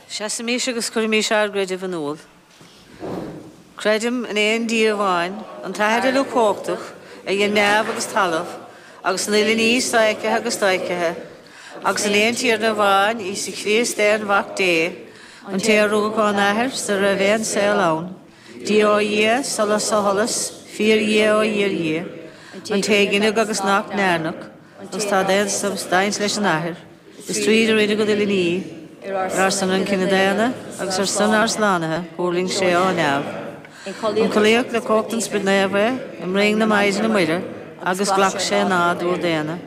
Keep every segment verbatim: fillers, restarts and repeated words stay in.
Seasaimís agus cuirimís ár gcreideamh in iúl. Creidim in aon Dia amháin, an tAthair uilechumhachtach, a dhein neamh agus talamh, agus an uile ní sofheicthe agus dofheicthe, agus in aon Tiarna amháin, Íosa Críost aon Mhac Dé, an té a rugadh ón Athair sara raibh aon saol ann, Dia ó Dhia, solas ó sholas, fíor-Dhia ó fhíor-Dhia, an té a gineadh agus nach ndearnadh, agus atá d'aon substaint leis an Athair, is tríd a rinneadh an uile ní, ar ár son an cine daonna agus ar son ár slánaithe, thuirling sé ó neamh. Ionchollaíodh le cumhacht an Spioraid Naomh é, i mbroinn na Maighdine Muire, agus ghlac sé nádúr daonna.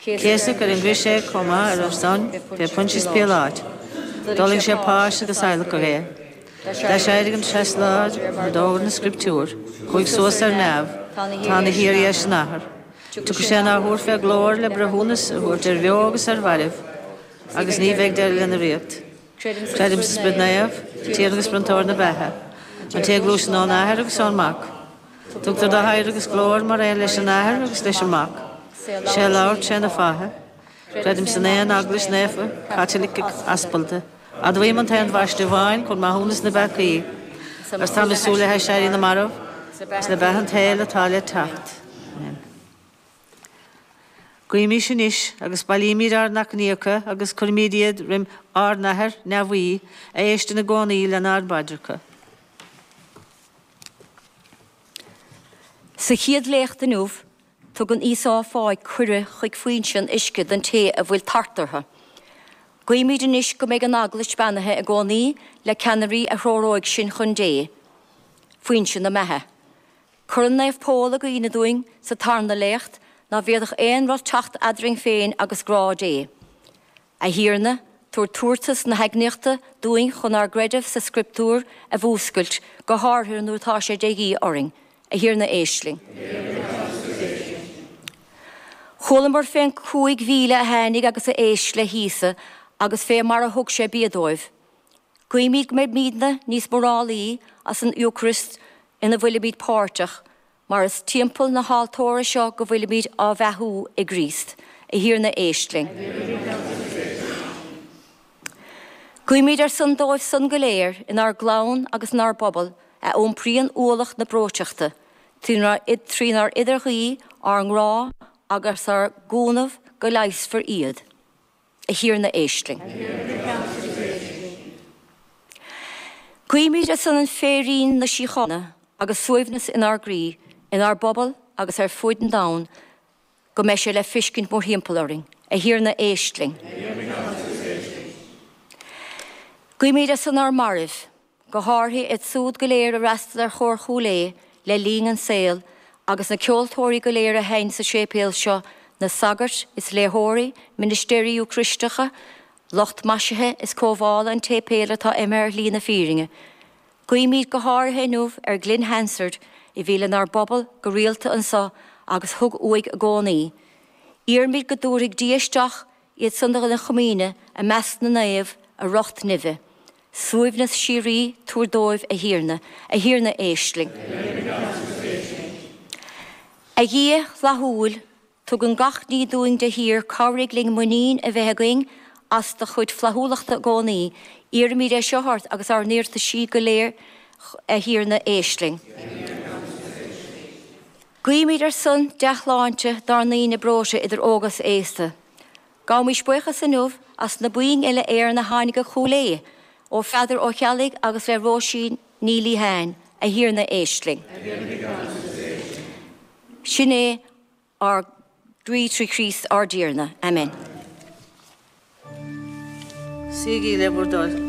Céasadh ar an gcrois é chomh maith ar ár son, fé Phontius Píoláit. D'fhulaing sé páis agus adhlacadh é. D'aiséirigh an treas lá mar d'fhógair na Scrioptúir, chuaigh suas ar neamh, tá ina shuí ar dheis an Athar. Tiocfaidh sé in athuair fé ghlóir le breithiúnas a thabhairt ar bheo agus ar mhairbh, agus ní bheidh deireadh lena ríocht. Creidim sa Spiorad Naomh, Tiarna agus Bronntóir na beatha, an té a ghluaiseann ón Athair agus ón Mac. Tugtar dó adhradh agus glóir mar aon leis an Athair agus leis an Mac. Sé a labhair tré na fáithe. Creidim san aon Eaglais Naofa, Caitliceach, Aspalda. Admhaím an t-aon bhaisteadh amháin chun maithiúnas na bpeacaí, agus táim ag súil le haiséirí na marbh agus le beatha an tsaoil atá le teacht. Amen. Guímís anois agus bailímid ár n-achainíocha agus cuirimid iad roimh ár nAthair neamhaí a éisteann i gcónaí lenár bpaidreacha. Sa chéad léacht inniu, tugann Íosa fáidh cuireadh chuig foinse an uisce don té a bhfuil tart orthu. Guímid anois go mbeidh an Eaglais beannaithe i gcónaí le ceannairí a threoróidh sinn chun Dé, foinse na beatha. Cuireann Naomh Pól i gcuimhne dúinn sa tarna léacht ná bhféadfadh aon rud teacht eadrainn féin agus grá Dé. A Thiarna, tabhair tabhartas na heagnaíochta dúinn chun ár gcreideamh sa Scrioptúr a mhúscailt, go háirithe nuair atá sé de dhíth orainn. A Thiarna, éist linn. Chualamar fén cúig mhíle a tháinig agus a éist le hÍosa agus fé mar a thug sé bia dóibh. Guímid go mbeimidne níos mórálaí as an Eocairist ina bhfuilimid páirteach, mar is timpeall na haltóra seo go bhfuilimid á bheathú i gCríost. A Thiarna, éist linn. Guímid ar son dóibh san go léir inár gclann agus inár bpobal a iompraíonn ualach na breoiteachta, trínár n-idirghuí, ár ngrá agus ár gcúnamh go leigheasfar iad. A Thiarna, éist linn. Guímid ar son an féirín na síochána agus suaimhneas inár gcroí, inár bpobal agus ar fuaid an domhain, go mbeidh sé le fiscint mórthimpeall orainn. A Thiarna, éist linn. Guímid ar son ár mairbh, go háirithe iad súd go léir a fhreastal ar Chór Chúil Aodha le linn an saol agus na ceoltóirí go léir a sheinn sa séipéal seo, na sagairt is léitheoirí, ministéirí Eocairisteacha, lucht maisithe is cóimeála an tséipéil atá imithe ar shlí na fírinne. Guímid go háirithe inniu ar Ghlynn Hansard a bhí lenár bpobal go rialta anso agus thug uaidh i gcónaí. Iarraimid go dtabharfaidh Dia isteach iad san lena chomaoine i measc na naomh i riocht neimhe. Suaimhneas síoraí tabhair dóibh, a Thiarna. A Thiarna, éist linn. A Dhia fhlaithiúil, tugann gach ní dúinn de shíor, cabhraigh linn muinín a bheith againn as do chuid flaithiúlachta i gcónaí. Iarraimid é seo ort agus ár n-iarrataisí go léir, a Thiarna, éist linn. Guímid ar son dea-shláinte dár ndaoine breoite idir óg is aosta. Gabhaimis buíochas inniu as na boinn uile-Éireann a tháinig go Cúil Aodha ó Pheadar Ó Ceallaigh agus le Róisín Ní Liatháin, A Thiarna éist linn. Sin é ár nguí trí Chríost ár dTiarna. Amen. Suígí le bhur dtoil.